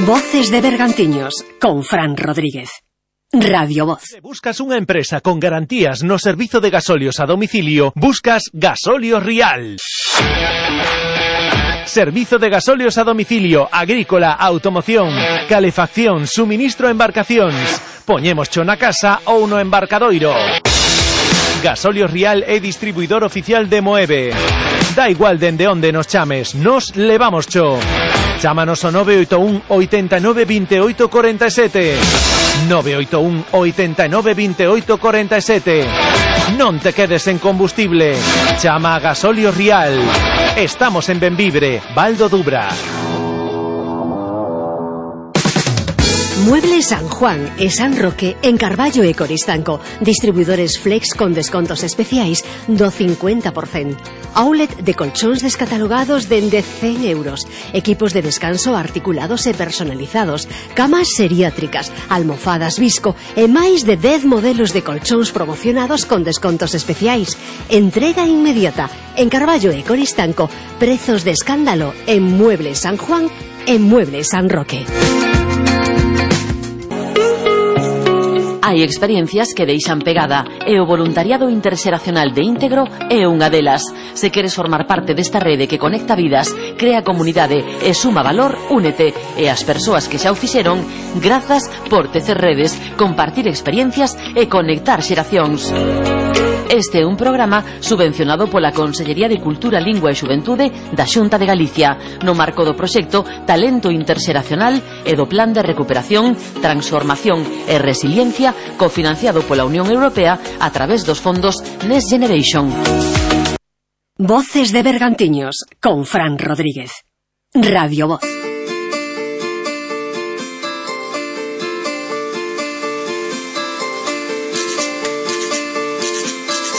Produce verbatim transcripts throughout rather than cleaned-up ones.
Voces de Bergantiños, con Fran Rodríguez. Radio Voz. Se buscas unha empresa con garantías no servizo de gasolios a domicilio, buscas Gasolios Rial. Servizo de gasolios a domicilio, agrícola, automoción, calefacción, suministro a embarcacións. Poñémoscho na casa ou no embarcadoiro. Gasolios Rial é distribuidor oficial de Moeve. Da igual dende onde nos chames, nos levamoscho. Chámanos ao nove oito un oitenta e nove vinte e oito corenta e sete. nove oito un oitenta e nove vinte e oito corenta e sete. Non te quedes en combustible. Chama a Gasolios Rial. Estamos en Benvibre, Val do Dubra. Muebles San Juan e San Roque en Carballo e Coristanco. Distribuidores Flex con descontos especiais do cincuenta por cento. Outlet de colchóns descatalogados dende cen euros. Equipos de descanso articulados e personalizados. Camas seriátricas, almofadas Visco e máis de dez modelos de colchóns promocionados con descontos especiais. Entrega inmediata. En Carballo e Coristanco, prezos de escándalo en Muebles San Juan e Muebles San Roque. Hai experiencias que deixan pegada e o voluntariado interxeracional de Íntegro é unha delas. Se queres formar parte desta rede que conecta vidas, crea comunidade e suma valor, únete. E as persoas que xa o fixeron, grazas por tecer redes, compartir experiencias e conectar xeracións. Este é un programa subvencionado pola Consellería de Cultura, Lingua e Xuventude da Xunta de Galicia, no marco do proxecto Talento Interxeracional e do Plan de Recuperación, Transformación e Resiliencia, cofinanciado pola Unión Europea a través dos fondos Next Generation. Voces de Bergantiños, con Fran Rodríguez. Radio Voz.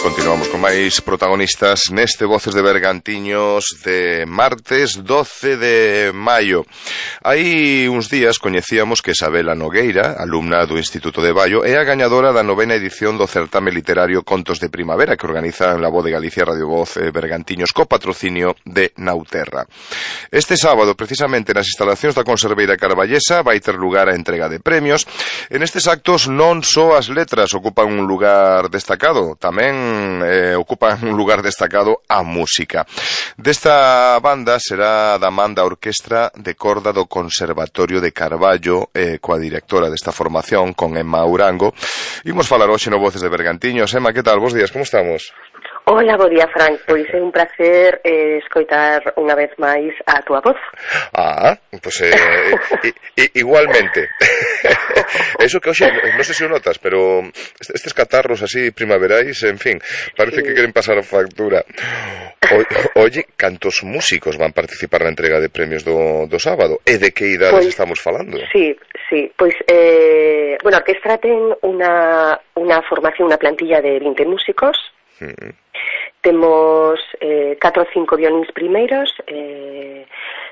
Continuamos con máis protagonistas neste Voces de Bergantiños de martes doce de maio. Hai uns días coñecíamos que Isabela Nogueira, alumna do Instituto de Baio, é a gañadora da novena edición do certame literario Contos de Primavera que organizan La Voz de Galicia Radio Voz eh, Bergantiños co patrocinio de Nauterra. Este sábado, precisamente nas instalacións da Conserveira Carballesa, vai ter lugar a entrega de premios. En estes actos non só as letras ocupan un lugar destacado, tamén Eh, ocupa un lugar destacado a música. Desta banda será da man da Orquestra de Corda do Conservatorio de Carballo, eh, coa directora desta formación, con Emma Urango. Imos falar hoxe no Voces de Bergantiños. Emma, que tal? Bos días, como estamos? Hola, bo día, Frank. Pois é un placer eh, escoitar unha vez máis a túa voz. Ah, pois pues, eh, i, i, igualmente. Eso que hoxe, non sei se o notas, pero estes catarros así primaverais, en fin, parece sí. que queren pasar a factura. O, oye, cantos músicos van participar na entrega de premios do, do sábado? E de que idades pues, estamos falando? Sí, sí, pois, eh, bueno, a orquestra ten unha, unha formación, unha plantilla de vinte músicos. Mm. Temos eh, catro ou cinco violíns primeiros, eh,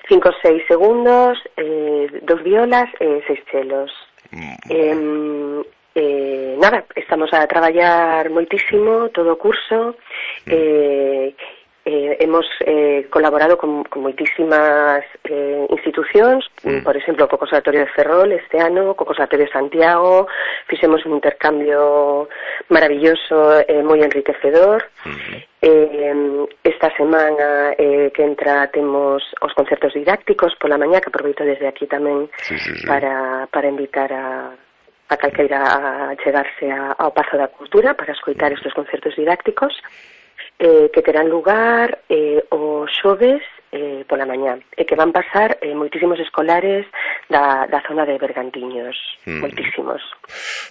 cinco ou seis segundos, eh, dos violas e seis chelos. Mm. Eh, eh, nada, estamos a traballar moitísimo todo o curso. Mm. Eh, Eh, hemos eh, colaborado con, con moitísimas eh, institucións, mm. por exemplo, co Conservatorio de Ferrol este ano, co Conservatorio de Santiago, fixemos un intercambio maravilloso e eh, moi enriquecedor. Mm. Eh, esta semana eh, que entra temos os concertos didácticos pola mañá, que aproveito desde aquí tamén sí, sí, sí. para, para invitar a a calqueira a chegarse a, ao Pazo da Cultura para escoitar estes concertos didácticos. Eh, que terán lugar eh, o xoves eh, pola mañá e que van pasar eh, moitísimos escolares da, da zona de Bergantiños, mm. moitísimos.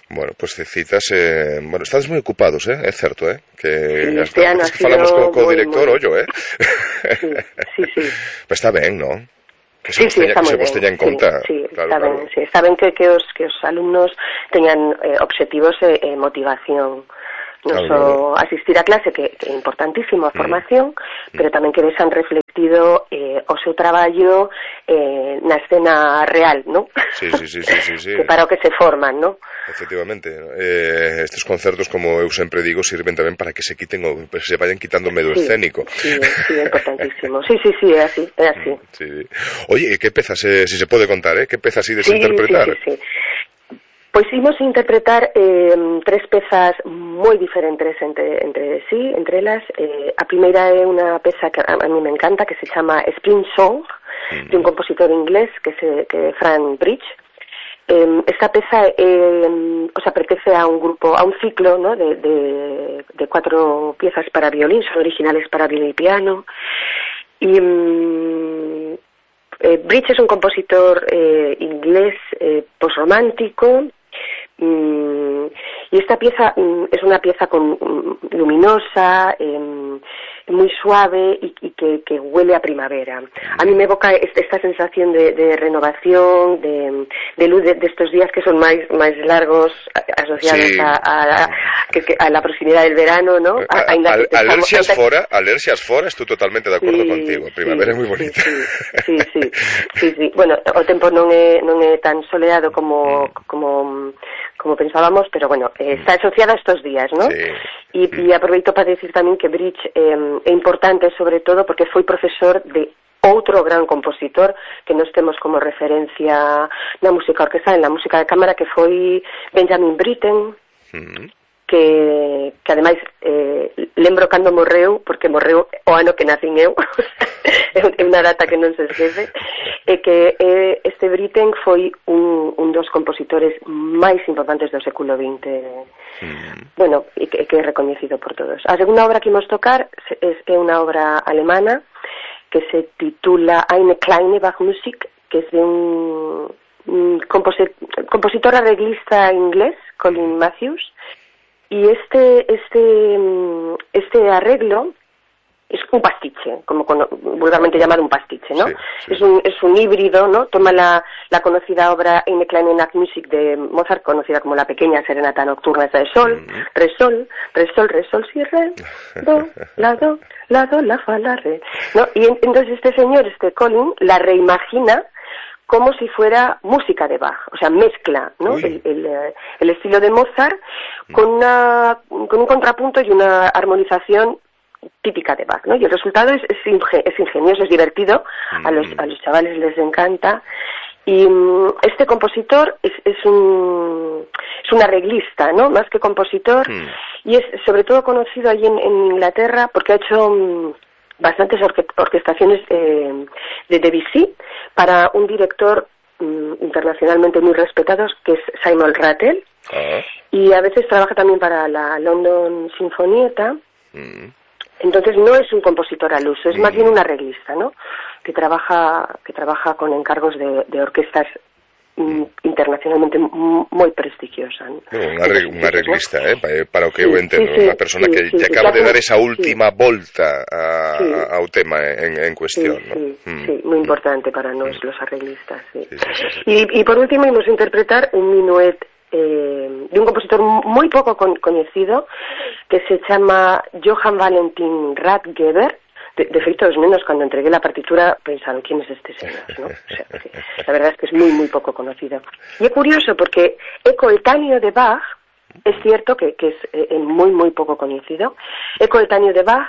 Bueno, pues citas, eh, bueno, estades moi ocupados, eh? É certo, eh? Que sí, este ano que falamos co, co muy, director, muy... ollo, eh? Sí, sí, sí. Pero está ben, non? Que sí, se sí, teña, está que moi se ben. en conta. Sí, sí, claro, está claro. ben, sí. Está ben que, que, os, que os alumnos teñan eh, obxectivos e eh, motivación. Non só asistir a clase, que, que é importantísimo a formación, mm. pero tamén que vexan reflectido eh, o seu traballo eh, na escena real, ¿no? Sí, sí, sí, sí, sí, sí. Que para o que se forman, ¿no? Efectivamente, eh, estes concertos, como eu sempre digo, sirven tamén para que se quiten o, se vayan quitando o medo sí, escénico. Sí, sí, é importantísimo. Sí, sí, sí, é así, é así. Sí. Oye, que pezas, eh, si se pode contar, eh? Que pezas ides sí, a interpretar? Sí, sí, sí. Pois imos interpretar eh, tres pezas moi diferentes entre, entre sí, entre elas. Eh, a primeira é unha peza que a, a mí me encanta, que se chama Spring Song, mm. de un compositor inglés que se que é Frank Bridge. Eh, esta peza eh, o sea, pertence a un grupo, a un ciclo, ¿no? de, de, de cuatro piezas para violín, son originales para violín y piano. Y um, eh, Bridge es un compositor eh, inglés eh, posromántico. Mm, y esta pieza mm, es una pieza con, mm, luminosa, eh, muy suave y, y que, que huele a primavera. A mí me evoca esta sensación de, de renovación, de, de luz de, de estos días que son más, más largos, asociados sí. a, a, a, a la proximidad del verano, ¿no? A, a, al, alercias estamos, fora, alercias fora, estoy totalmente de acuerdo sí, contigo. Primavera sí, é moi bonita. Sí, sí, sí, sí, sí. Bueno, o tempo non é, non é tan soleado como, como, como pensábamos, pero bueno, eh, está asociada a estos días, ¿no? Sí. Y, mm. y aproveito para decir tamén que Bridge eh, é importante sobre todo porque foi profesor de outro gran compositor que nos temos como referencia na música orquestal, en la música de cámara, que foi Benjamin Britten, mm. que, que ademais eh, lembro cando morreu, porque morreu o ano que nacín eu, é unha data que non se esquece, e que eh, este Britten foi un, un dos compositores máis importantes do século vinte, mm. bueno, e que, que é recoñecido por todos. A segunda obra que imos tocar é, é unha obra alemana que se titula Eine kleine Bachmusik, que es de un, un composit, compositor arreglista inglés, Colin Matthews, y este este este arreglo es un pastiche, como con, vulgarmente llamado un pastiche, ¿no? Sí, sí. Es un es un híbrido, ¿no? Toma la, la conocida obra Eine kleine Nachtmusik de Mozart, conocida como la pequeña serenata nocturna esa de sol, mm-hmm. re sol, re sol, re sol, si re, do, la do, la do, la fa, la re, ¿no? Y en, entonces este señor, este Colin, la reimagina como si fuera música de Bach, o sea, mezcla, ¿no? El, el, el estilo de Mozart con una con un contrapunto y una armonización típica de Bach, ¿no? Y el resultado es, es, inge, es ingenioso, es divertido, a los, a los chavales les encanta. Y um, este compositor es, es un es un arreglista, ¿no? Más que compositor, mm. y es sobre todo conocido allí en, en Inglaterra porque ha hecho um, bastantes orque orquestaciones eh, de Debussy para un director um, internacionalmente muy respetado que es Simon Rattle, ah. y a veces trabaja también para la London Sinfonietta. Mm. Entonces no es un compositor al uso, es mm. más bien un arreglista, ¿no? Que trabaja que trabaja con encargos de, de orquestas mm. internacionalmente muy prestigiosa, ¿no? Bueno, un, arreg un arreglista, ¿no? eh? Para o que eu entendo, sí, sí, unha persona sí, que sí, te acaba sí, de dar esa última sí. volta a, sí. ao tema en, en cuestión, sí, ¿no? Sí, mm. sí, muy importante para nos mm. los arreglistas, sí. Sí, sí, sí, sí. Y, y por último íbamos a interpretar un minuet eh, de un compositor muy poco con conocido que se llama Johann Valentin Rathgeber. De, de feito, os menos cuando entregué la partitura pensaron, ¿quién es este señor? ¿No? O sea, sí, la verdad es que es muy, muy poco conocido. Y es curioso porque é coetáneo de Bach, es cierto que, que es eh, muy, muy poco conocido, é coetáneo de Bach,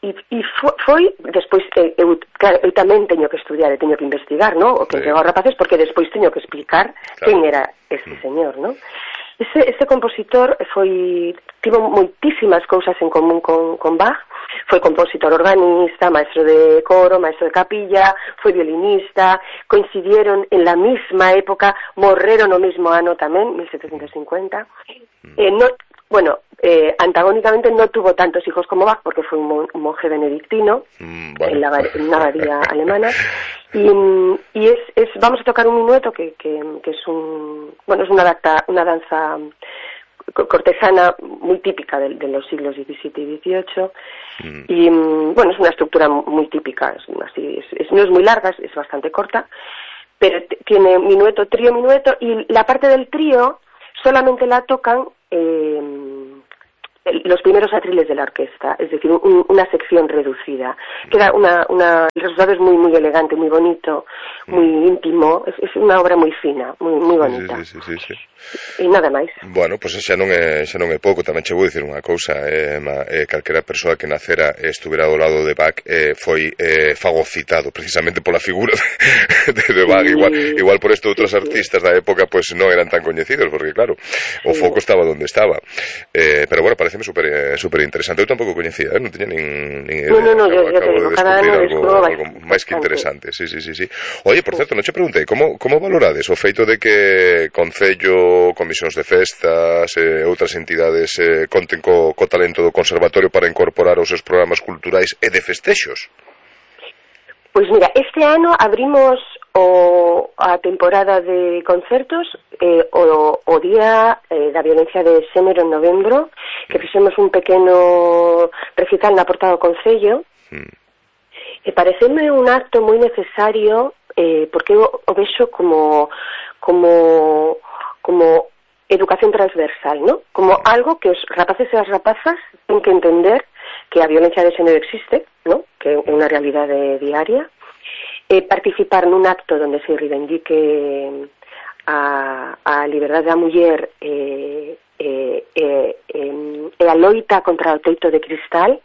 e, e foi, despois, eh, eu, claro, eu tamén teño que estudiar e teño que investigar, ¿no? O que sí. Entrego aos rapaces, porque despois teño que explicar claro. Quen era este señor, ¿no? Ese, ese compositor foi tivo moitísimas cousas en común con, con Bach. Foi compositor organista, maestro de coro, maestro de capilla, foi violinista, coincidieron en la misma época, morreron no mismo ano tamén, mil setecientos cincuenta. Eh, no, bueno, eh, antagónicamente no tuvo tantos hijos como Bach porque fue un, mon un monje benedictino mm, bueno. en, la, en una abadía alemana. Y, y es, es, vamos a tocar un minueto que, que, que es un, bueno, es una, data, una danza cortesana muy típica de, de los siglos diecisiete y dieciocho. Mm. Y bueno, es una estructura muy típica, es, así, es, es, no es muy larga, es, es bastante corta, pero tiene minueto, trío, minueto, y la parte del trío solamente la tocan eh, los primeros atriles de la orquesta, es decir, un, una sección reducida. Queda una, una, el resultado es muy muy elegante, muy bonito, muy mm. íntimo, es, es unha obra moi fina, moi, moi bonita. Sí, sí, sí, sí. E nada máis. Bueno, pois pues xa non é, xa non é pouco, tamén che vou dicir unha cousa, eh, ma, eh, calquera persoa que nacera e estuvera ao lado de Bach eh, foi eh, fagocitado precisamente pola figura de, de, de Bach, sí, igual, igual por isto outros sí, artistas da época pues non eran tan coñecidos, porque claro, o foco estaba onde estaba. Eh, pero bueno, pareceme super, eh, super interesante. Eu tampouco coñecía, eh? Non teña nin, nin idea. No, no, no, yo, yo acabo te digo, de cada ano algo, algo máis que interesante. Sí, sí, sí, sí. Oye, por certo, non che preguntei, como, como valorades o feito de que Concello, comisións de festas e eh, outras entidades eh, conten co, co talento do conservatorio para incorporar os seus programas culturais e de festexos? Pois mira, este ano abrimos o, a temporada de concertos eh, o, o día eh, da violencia de xénero en novembro, que fixemos un pequeno recital na porta do Concello, mm. e pareceme un acto moi necesario, eh, porque eu o vexo como como como educación transversal, ¿no? Como algo que os rapaces e as rapazas ten que entender que a violencia de xénero existe, ¿no? Que é unha realidade diaria. Eh, participar nun acto onde se reivindique a, a liberdade da muller e eh, eh, eh, eh, a loita contra o teito de cristal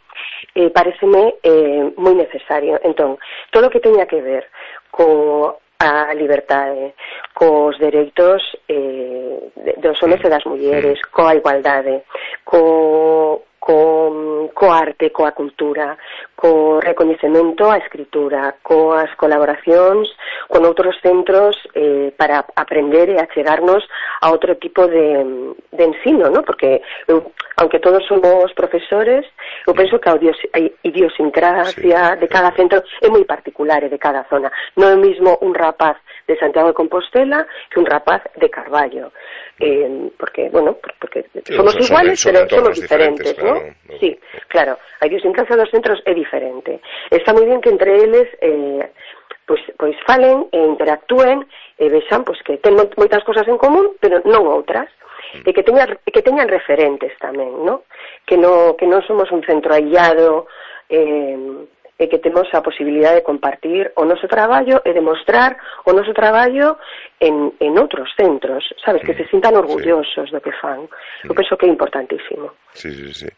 eh, pareceme eh, moi necesario. Entón, todo o que teña que ver co a liberdade, cos dereitos eh, dos homens e das mulleres, coa igualdade, co, co, co arte, coa cultura, co recoñecemento á escritura, coas colaboracións con outros centros eh, para aprender e achegarnos a outro tipo de, de ensino, ¿no? Porque eu, aunque todos somos profesores, eu penso que a idiosincrasia sí. de cada centro é moi particular e de cada zona. Non é o mismo un rapaz de Santiago de Compostela que un rapaz de Carballo. Eh, porque, bueno, porque sí, somos iguales, son, pero somos diferentes, diferentes, ¿no? Claro, no? Sí, claro, a idiosincrasia dos centros é diferente. Está moi bien que entre eles eh, pois, pois falen e interactúen e vexan pois, que ten moitas cosas en común, pero non outras. E que teñan, que teñan referentes tamén, ¿no? Que, no, que non somos un centro aillado, eh, e que temos a posibilidade de compartir o noso traballo e demostrar o noso traballo en, en outros centros, sabes, que se sintan orgullosos sí. do que fan. Eu penso que é importantísimo. Sí, sí, sí.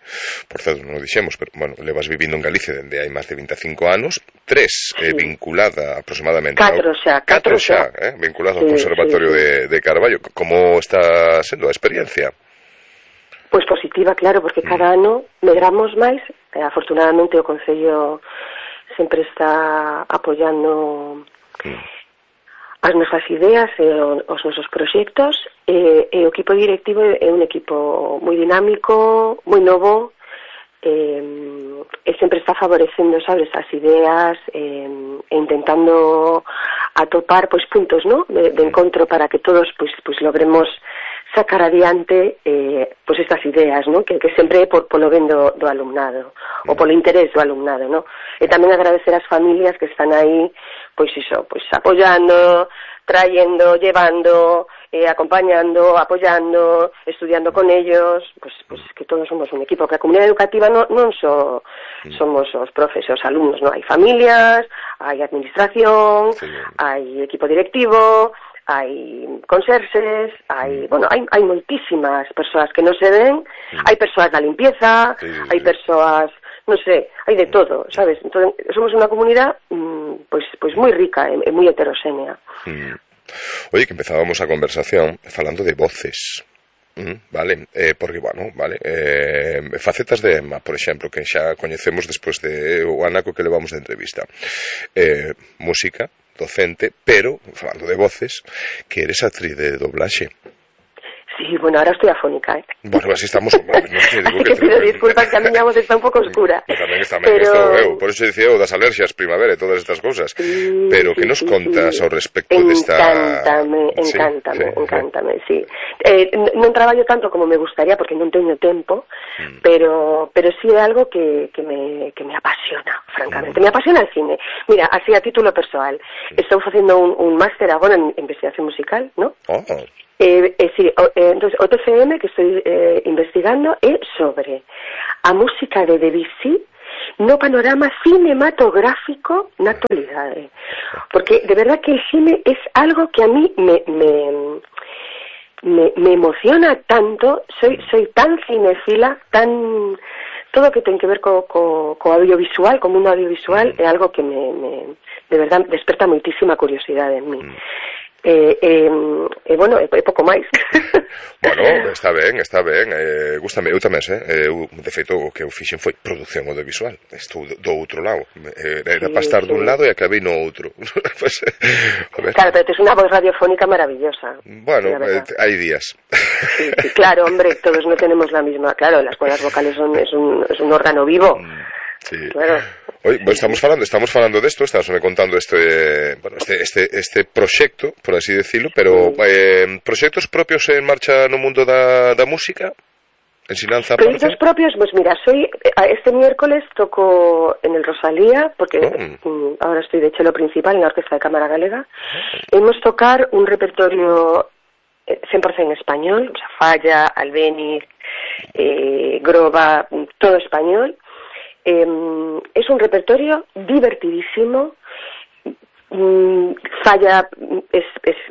Por certo, non o dixemos, pero, bueno, levas vivindo en Galicia dende hai máis de veinticinco anos, tres sí. eh, vinculada aproximadamente... Catro xa, catro xa, eh, vinculado sí, ao Conservatorio sí, sí. De, de Carballo. Como está sendo a experiencia? Pois positiva, claro, porque mm. cada ano medramos máis. Eh, afortunadamente o Concello sempre está apoiando mm. as nosas ideas e os nosos proxectos e, e o equipo directivo é un equipo moi dinámico, moi novo e, e sempre está favorecendo, sabes, as ideas e, e intentando atopar pois puntos, ¿no? de, de encontro para que todos pois, pois logremos sacar adiante eh, pois estas ideas, ¿no? que, que sempre é por, polo ben do, do alumnado ou polo interés do alumnado, ¿no? E tamén agradecer ás familias que están aí pois iso, pois apoyando, trayendo, llevando, eh, acompañando, apoyando, estudiando con ellos, pues, pues que todos somos un equipo, que a comunidade educativa non, non so, somos os profes e os alumnos, ¿no? Hai familias, hai administración, sí. hai equipo directivo, hai conserxes, hai, bueno, hai, hai moitísimas persoas que non se ven, mm. hai persoas da limpieza, sí, sí, hai persoas, non sei, hai de todo, sabes? Entón, somos unha comunidade mmm, pois, pois moi rica e, e moi heteroxénea. Mm. Oye, que empezábamos a conversación falando de voces. Mm, vale, eh, porque, bueno, vale, eh, facetas de Emma, por exemplo, que xa coñecemos despois de o anaco que levamos de entrevista. Eh, música, docente, pero, falando de voces, que eres actriz de doblaxe. Sí, bueno, ahora estoy afónica, ¿eh? Bueno, así estamos... Bueno, no sé, digo que pido disculpas, que a miña voz está un pouco oscura. Pues tamén está ben, pero... esto, eu, por eso dicía eu das alerxias, primavera e todas estas cousas. Sí, pero que sí, nos contas sí. ao respecto desta... Encántame, encántame, sí, encántame, sí. sí. Eh, non traballo tanto como me gustaría, porque non teño tempo, mm. pero pero sí é algo que, que, me, que me apasiona, francamente. Mm. Me apasiona el cine. Mira, así a título persoal, mm. estou facendo un, un máster agora en investigación musical, ¿no? Oh. Eh, eh, sí, o, eh, entonces, o T F M que estoy eh, investigando é sobre a música de Debussy no panorama cinematográfico na actualidade. Porque de verdad que el cine es algo que a mí me... me Me, me emociona tanto, soy soy tan cinéfila, tan todo que ten que ver co, co, co audiovisual, como un audiovisual, é algo que me, me de verdad desperta moitísima curiosidade en mí. Mm. Eh, eh, eh, bueno, é, é pouco máis. Bueno, está ben, está ben, eh, gústame, eu tamén, eh, eu, de feito, o que eu fixen foi produción audiovisual, estou do outro lado, eh, era sí, para estar sí. dun lado e acabei no outro. Pues, claro, pero tes unha voz radiofónica maravillosa. Bueno, eh, hai días. Sí, sí, claro, hombre, todos no tenemos la misma, claro, las cuerdas vocales son, es, un, es un órgano vivo. Sí. Claro. Hoy bueno, estamos falando, estamos falando de esto, estás me contando este, bueno, este este este proxecto, por así decirlo, pero sí. eh, proxectos propios en marcha no mundo da da música. Ensinanza proyectos propios, pues mira, soy este miércoles toco en el Rosalía, porque oh. ahora estoy de cello principal en la Orquesta de Cámara Galega. Oh. Hemos tocar un repertorio cien por ciento español, o sea, Falla, Albéniz, eh, Groba, todo español. Eh, es un repertorio divertidísimo. Mm, Falla es, es